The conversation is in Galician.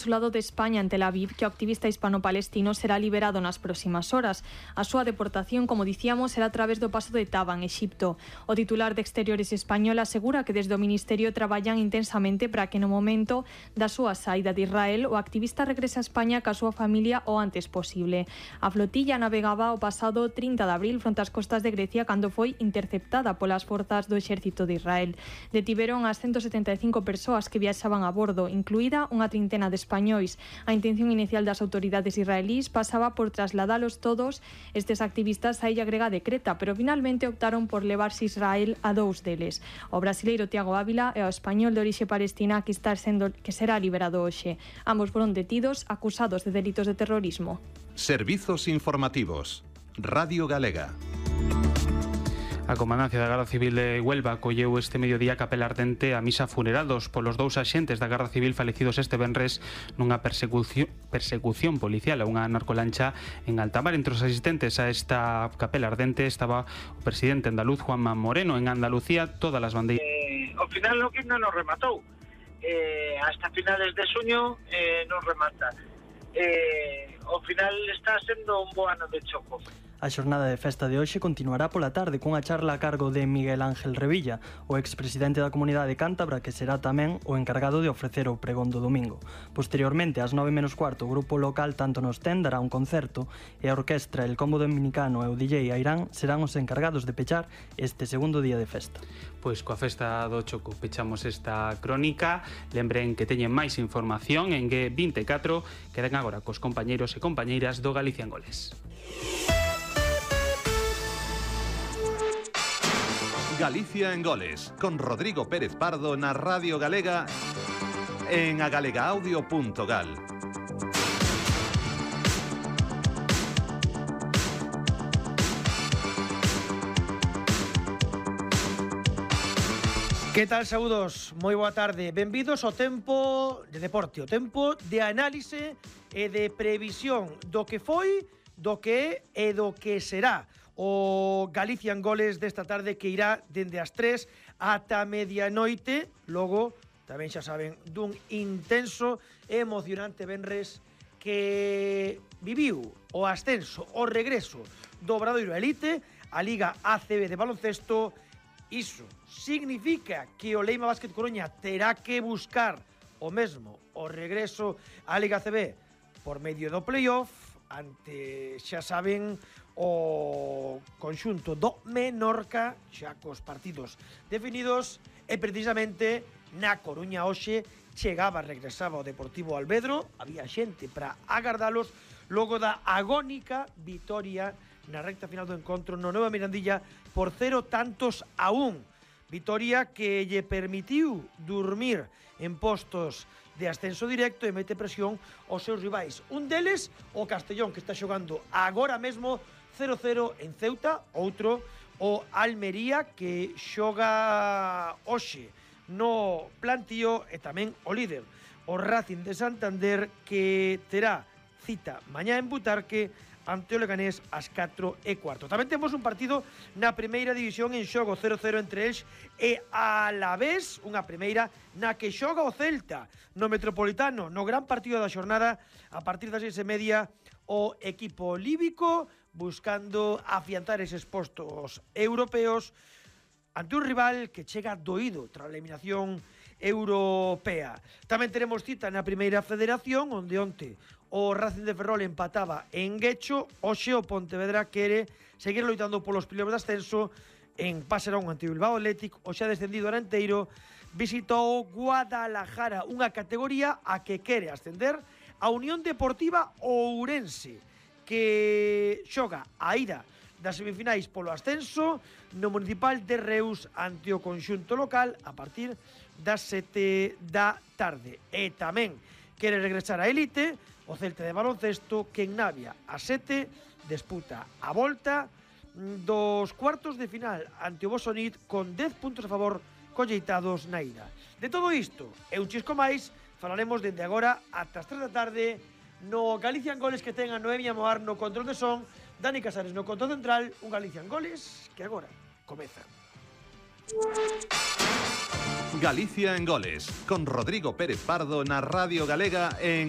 Consulado de España en Tel Aviv que o activista hispano-palestino será liberado nas próximas horas. A súa deportación, como dicíamos, será a través do paso de Taba, en Exipto. O titular de Exteriores español asegura que desde o Ministerio traballan intensamente para que no momento da súa saída de Israel o activista regrese a España ca súa familia o antes posible. A flotilla navegaba o pasado 30 de abril fronte ás costas de Grecia cando foi interceptada polas forzas do exército de Israel. Detiveron as 175 persoas que viaxaban a bordo, incluída unha trintena de españois. A intención inicial das autoridades israelís pasaba por trasladalos todos estes activistas á illa grega de Creta, pero finalmente optaron por levarse Israel a dous deles. O brasileiro Tiago Ávila e o español de orixe palestina que será liberado hoxe. Ambos foron detidos acusados de delitos de terrorismo. Servizos informativos. Radio Galega. A Comandancia da Garda Civil de Huelva colleu este mediodía capela ardente a misa funeral polos dous axentes da Garda Civil falecidos este venres nunha persecución policial a unha narcolancha en alta mar. Entre os asistentes a esta capela ardente estaba o presidente andaluz Juanma Moreno. En Andalucía todas as bandeiras... Ao final o que non nos rematou. Hasta finales de xuño non remata. Ao final está sendo un bo ano de choco. A xornada de festa de hoxe continuará pola tarde cunha charla a cargo de Miguel Ángel Revilla, o expresidente da Comunidade Cántabra, que será tamén o encargado de ofrecer o pregón do domingo. Posteriormente, ás 9:15, o grupo local Tanto Nos Ten dará un concerto e a orquestra El Combo Dominicano e o DJ Airán serán os encargados de pechar este segundo día de festa. Pois coa festa do Choco pechamos esta crónica. Lembren que teñen máis información en G24. Quedan agora cos compañeiros e compañeiras do Galicia en Goles. Galicia en Goles, con Rodrigo Pérez Pardo na Radio Galega en agalegaaudio.gal. Que tal, saúdos? Moi boa tarde. Benvidos ao tempo de deporte, o tempo de análise e de previsión do que foi, do que é e do que será o Galicia en Goles desta tarde, que irá dende as 3 ata medianoite. Logo, tamén xa saben, dun intenso e emocionante venres que viviu o ascenso, o regreso do Obradoiro Elite, a Liga ACB de baloncesto. Iso significa que o Leima Básquet Coruña terá que buscar o mesmo, o regreso á Liga ACB por medio do playoff ante, xa saben, o conxunto do Menorca, xa cos partidos definidos, e precisamente na Coruña hoxe regresaba o Deportivo Alvedro. Había xente para agardalos logo da agónica vitoria na recta final do encontro no Nova Mirandilla por 0-1. Vitoria que lle permitiu dormir en postos de ascenso directo e mete presión aos seus rivais. Un deles, o Castellón, que está xogando agora mesmo 0-0 en Ceuta. Outro, o Almería, que xoga hoxe no plantío, e tamén o líder, o Racing de Santander, que terá cita mañá en Butarque ante o Leganés ás 4:15. Tamén temos un partido na primeira división en xogo, 0-0 entre eles e Alavés, unha primeira na que xoga o Celta no Metropolitano, no gran partido da xornada. A partir das 6:30, o equipo líbico buscando afianzar eses postos europeos ante un rival que chega doído tras a eliminación europea. Tamén teremos cita na primeira federación, onde onte o Racing de Ferrol empataba en Guecho. Hoxe o Pontevedra quere seguir loitando polos playoffs de ascenso en Pasarón ante o Bilbao Athletic. O xa descendido Aranteiro visitou Guadalajara, unha categoría a que quere ascender a Unión Deportiva Ourense, que xoga a ida das semifinais polo ascenso no Municipal de Reus ante o conxunto local a partir das 7 da tarde. E tamén quere regresar a elite o Celta de baloncesto, que en Navia a 7 disputa a volta dos cuartos de final ante o Bosonit con 10 puntos a favor colleitados na ida. De todo isto e un chisco máis falaremos dende agora ata as 3 da tarde no Galicia en Goles, que ten a Noemia Moar no control de son, Dani Casares no control central. Un Galicia en Goles que agora comeza. Galicia en Goles, con Rodrigo Pérez Pardo na Radio Galega en